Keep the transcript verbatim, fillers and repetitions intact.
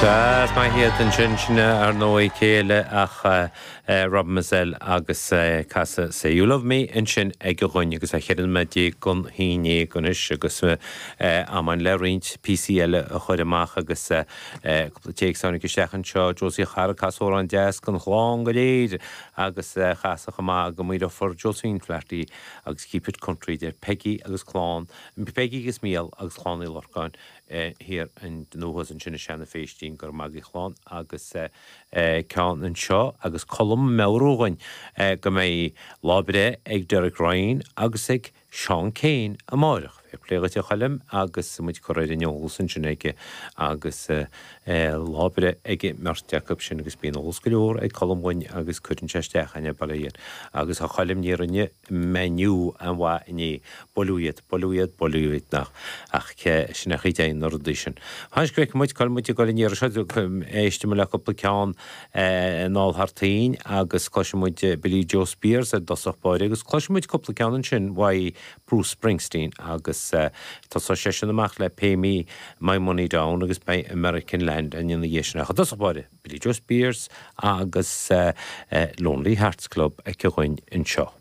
Sea, is maith iad ansin sin ar ndóigh céile ach Rob Mazell agus casadh Say You Love Me ansin aige dhúinn agus a cheithre nóiméad déag don haon déag anois agus am le roinnt píosaí eile a chur amach agus cúpla téacs tháinig isteach anseo Josie Chara casadh amhrán deas don chlann go léir agus casadh chomh maith go maoireofar Josephine Flaherty agus Keep It Country deir Peggy agus clann Peggy agus Mícheál agus Clann Uí Lorcáin thiar an nuas ansin i Seanadh Féistín gur magaí chlann agus ceann anseo agus Colm meabhrú dhúinn go mbeidh lá breithe ag Derek Ryan agus ag Seán Keane amárach. Fair play dhuit a Choilm agus muid cur ar an eolas ansin aige agus lá breithe ag mbeirt acu sin agus bíonn eolas go leor ag Colm dhúinn agus cuireann sé isteach aine baile agus a Choilm ní rinne Man U an-mhaith inné buaileadh iad buaileadh iad buaileadh iad nach ach sin a chuid na rudaí sin. Tháis go muid col muid go ní seo éiste le cúpla ceann anall thar toinn agus cloisfidh muid Billie Joe Spears ar dosach báire agus cloisfidh muid cúpla ceann ansin uaidh Bruce Springsteen agus tá sé sin amach le Pay Me My Money Down agus beidh American Land an ina dhiaidh sin ach dosach báire Billie Joe Spears agus Lonely Hearts Club aici dhúinn anseo.